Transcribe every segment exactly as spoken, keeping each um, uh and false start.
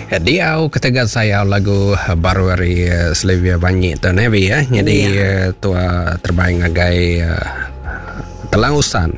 Diau ketegal saya lagu baru hari Sylvia Banyi tu Nevi ya. Jadi ya. Tua terbaik ngagai uh, Telang Usan.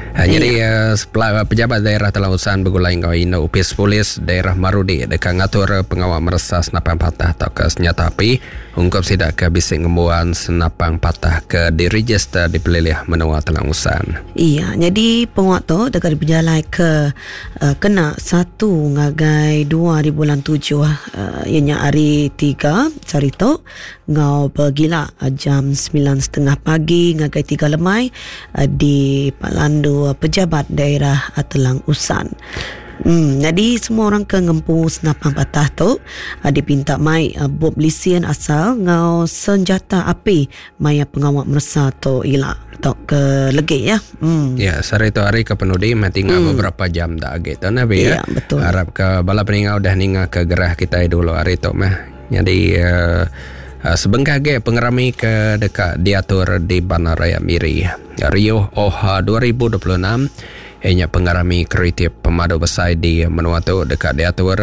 Uh, jadi ya. uh, pejabat daerah Telang Usan bergulai ngau Indo Upis Polis daerah Marudi dekat ngatur pengawal meresa senapang patah atau ke senjata api ungkup sidak ke bisik ngembuan senapang patah ke diregister di pelilih menua Telang Usan. Iya, jadi penguat tu dekat berjalan ke uh, kena satu ngagai dua di bulan tujuh uh, ianya hari tiga sehari tu ngau bergila uh, jam sembilan setengah pagi ngagai tiga lemai uh, di Palandu pejabat daerah Telang Usan. Hmm, jadi semua orang ke ngempu senapang patah tu uh, dipinta mai uh, bob lisian asal ngau senjata api maya pengawal meresa tu ila atau ke legi ya. Hmm. Ya, sehari tu hari ke penudi mati tinggal hmm. beberapa jam dah gitu nabi ya. Ya, betul. Harap ke bala peningau dah ninga ke gerah kita dulu hari tu mah. Jadi uh, Uh, sebengkah ge pengerami ke dekat diatur di Bandaraya Miri Rio Oha dua ribu dua puluh enam ianya pengerami kreatif pemadu besar di menua tu dekat diatur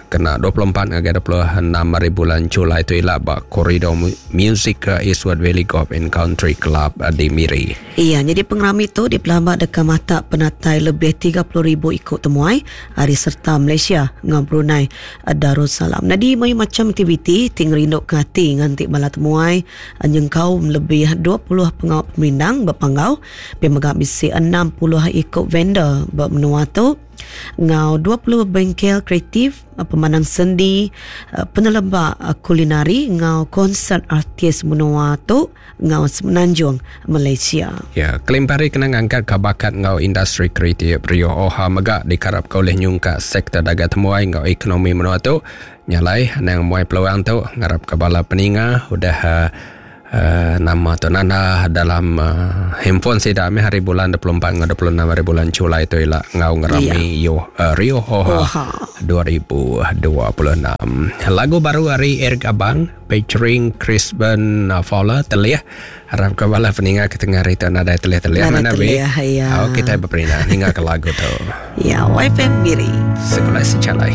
kena dua puluh empat hingga dua puluh enam hari bulan Julai tu ialah bak koridor music Eastwood Valley Golf and Country Club di Miri. Iya, jadi pengerami tu dipelambat dekat mata penatai lebih tiga puluh ribu ikut temuai hari serta Malaysia dengan Brunei Darussalam. Jadi macam aktiviti ting rinduk ke hati nganti bala temuai nyengkau lebih dua puluh pengawal pemerindang berpanggau pemegak bisi enam puluh ikut vendor bermenua tu ngau dua puluh bengkel kreatif pemandang sendi penelebak kulinari ngau konsert artis menua tu ngau Semenanjung Malaysia. Ya, kelimpari kena ngangkat ke bakat ngau industri kreatif Rio Oha megak dikarap kau oleh nyungka sektor dagang temuai ngau ekonomi menua tu nyalai nang muai peluang tu ngarap ke bala peninga udah uh, Uh, nama tu nanda dalam uh, handphone saya dah hari bulan dua puluh empat hingga dua puluh enam hari bulan Julai tu ialah ngau ngerami yeah. Yo, uh, Rio Oha dua ribu dua puluh enam. Lagu baru hari Eric Abang featuring Chris Ben Fowler telih. Harap ke bala peninga ke tengah hari tu nada telih-telih mana be. Ya. Oh, kita berperina ninga ke lagu tu. Ya, Y F M Miri. Sekolah secalai.